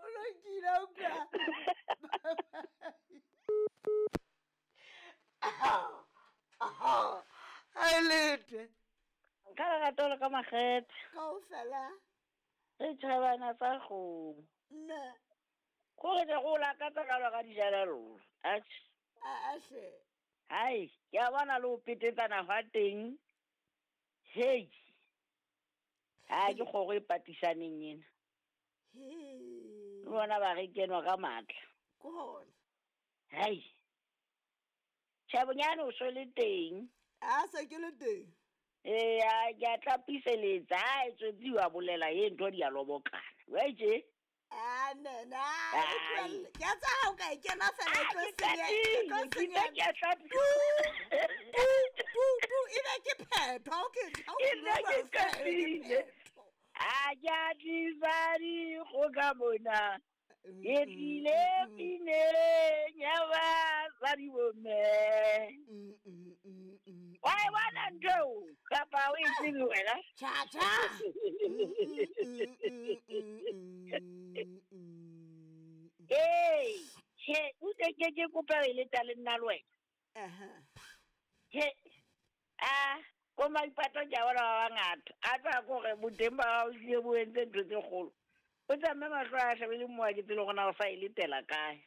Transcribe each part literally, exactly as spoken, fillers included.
O lokile utlwa. Ha e lete. Ka lerato le ka makgethe. Kaofela. Re tjhabana tsa kgomo. Mme. Kore ke go lakatsa ka lwa ka dijelello. Atjhe. A hle. Hai, ke a bona le ho petetsana hwa teng. Hei. Ha ke kgoro e patisaneng ena. He. Le bona ba re kenwa ka matla. Ke hona. Hai. Tjhe, bonyane o so le teng. A se ke le teng. Ee, ke a tlapiseletsa. Ha e tswetsi wa bolela e ntho di a lobokana. Wa itje? Ah, ne, na, e ke a tsa ha o ka e kena fela e tlo senya, e tlo senya. Ke a tlapisa. Tu, tu, tu, e be ke phetho, ha o ke, ha o Ke nna ke bua fela, e be ke qetile. phetho. A ke a tlisa dikgoka mona. Ke tlile pineng ya basadi bomme. Mm, mm, mm, mm. Wa e bona ntho eo? Kapa o e tsebe wena? Tjha, tjha. Mm, mm, mm, mm, mm, mm, mm. Ee, tjhe, o tle ke ke kope ho e leta le nna le wena. Aha. Tjhe, a ko Maipato ke a bona ba bangata. A tsa kore boteng ba hao ehlile bo entse ntho tse kgolo. O tsamaye mahlo a shebile mowa ke tsebe hore na o sa e letela kae.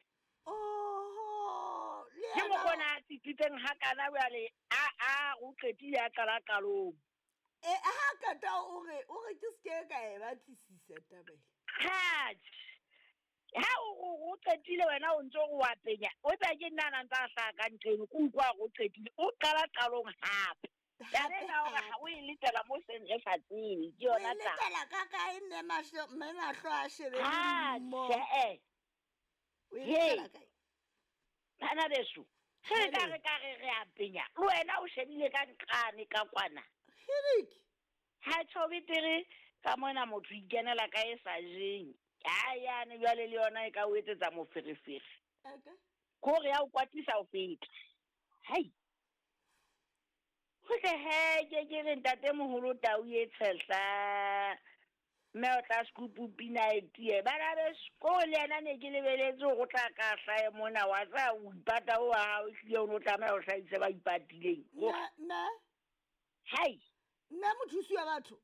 Oho, le Ke yena mokgona a tsitsitseng hakana jwale, a a o qetile a qala qalong. E, ha qeta o re, o re ke se ke ka e batlisisa taba e. Ha, ha o o o qetile wena o ntso o wa penya. O tla ke nna na ntsa hlaha ka ntho eno, ke utlwa hore o qetile. O qala qalong hape. Taba ena hore ha o e letela mo seng re sa tsebe, ke O yona e taba. letela ka kae mme mahlo, mme mahlo a shebile Ha, mo. tjhe. O e Hei. letela kae? Bana beso, ge re ka Hele. re ka re re a penya, le wena o shebile ka nqane ka kwana. Hirik. Ha tjho betere ka mona motho ikenela ka e sa jeng. Ha yane jwale le yona e ka o etsetsa moferefere. Okay. Kore ya o kwatisa ho feta. Hai. Ho tle he ke ke re ntatemoholo tau e tshehla. Mme o tla scoop pina e tiye. Bana beso, ko le yena ne ke lebeletse hore o tla ka hlahe mona wa tsa o ipata o wa hao ehlile o no tlameha ho hlahisa ba ipatileng. Nna, nna. Hai. Nna mothusi wa batho.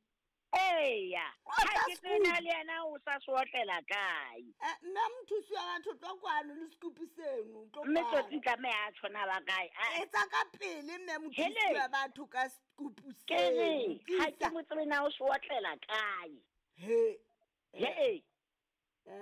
Eya. O tla Ha ke tsena scoop. le yena o sa sootlela kae. Eh, nna mothusi wa batho tlo kwano le scoop seno, tlo Mme kwano. tsotsi tlameha a tshwana ba kae? A- Etsa ka pele mme mothusi Hele. wa batho ka scoop Ke re, seno. ha ke Tlisa. mo tsebe na o sootlela kae. He. He. Eh.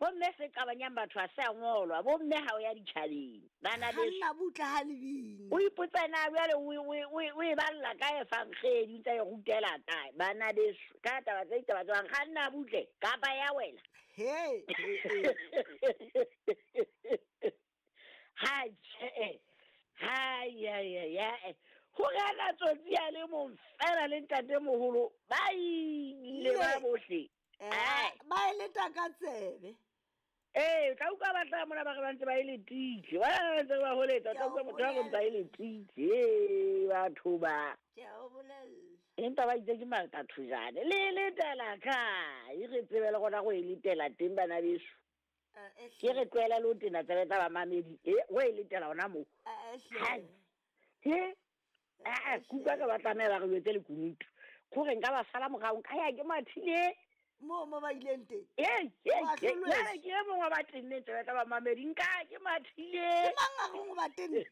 Bomme se qabanyang batho ha se a ngolwa, bomme ha o ya ditjhabeng. Bana beso. Kganna butle ha le bina. O ipotsa na jwale o o o o e balla kae efankgedi, o ntsa e rutela kae? Bana beso, ka taba tse ditaba tse bang, kganna butle kapa ya wela. He, he, he. Ha tjhe. Ha ya ya ya. Hore ana tsotsi a le mong fela le ntatemoholo ba ile ba Le. bohle. Eh, Ai. ba e leta ka tsebe. Ee, o tla utlwa ba hlaha mona ba re ba ntse ba e letile. Ba ba ntse ba holetsa, o tla Ke a utlwa o motho a re ntse a e letile. Ee, batho ba. Ke a o bolella. Empa ba itse ke matatshojane. Le e letela kae? Re tsebe le gona go e letela teng bana beso. Eh, eh, Ke re tlohela le ho tena tsebe tsa bamamedi. E, o e letela hona moo. Eh, eh, hle. Hai. He? Ah, kuka ka ba tlameha ba re jwetse lekunutu. Kore nka ba sala morao, nka ya ke mathile. Moo mo ba ileng teng. Ee, ee, Wa ee, hlolwetswe. jwale ke e mong wa ba tenneng tsebe tsa bamamedi, nka ke mathile. Ke mang a reng o ba tenne?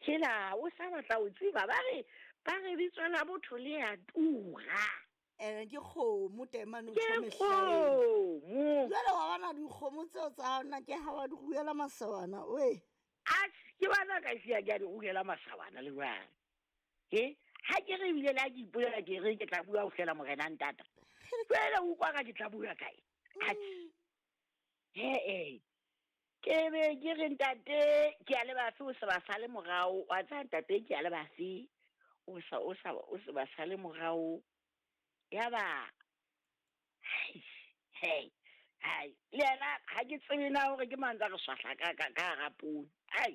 Hela, o sa batla ho tseba, ba re, ba re bitso la botho le a tura. Ene ke kgomo taemane o Ke tjho mehlaeng. kgomo. Jwale wa bona dikgomo tseo tsa hao nna ke ha wa di ruela masawana, oe. Atjhe, ke bona ka siya ke a di ruela masawana le jwale. He? Ha ke re ebile le ha ke ipolela ke re ke tla bua ho fihlela morena ntata. Jwale o utlwa ka ke tla bua kae? Atjhe. He eh. Ke be ke re ntate ke a le bafe o se ba sale morao. Wa tseba ntate ke a le bafe o sa o sa o se ba sale morao. Yaba hei, hei, hai. Le yena ha ke tsebe na hore ke mang tsa re swahla ka ka ka hara poone. Ai.